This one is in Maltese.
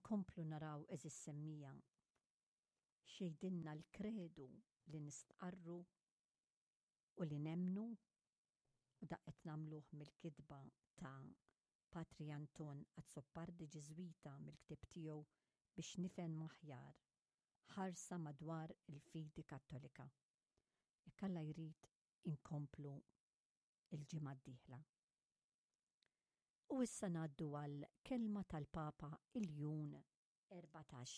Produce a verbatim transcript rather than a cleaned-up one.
Inkomplu naraw, għeżież semmiegħa, x'jgħidilna l-kredu li nistqarru u li nemmnu, u dan qed nagħmluh mill-kitba ta' Patri Anton Azzopardi, Ġiżwita, mill-ktieb tiegħu "Biex Nifhem Aħjar: Ħarsa Madwar il-Fidi Kattolika". Jekk Alla jrid, inkomplu il-ġimgħa d-dieħla. U issa ngħaddu għal kelma tal-Papa Iljun Erbatax.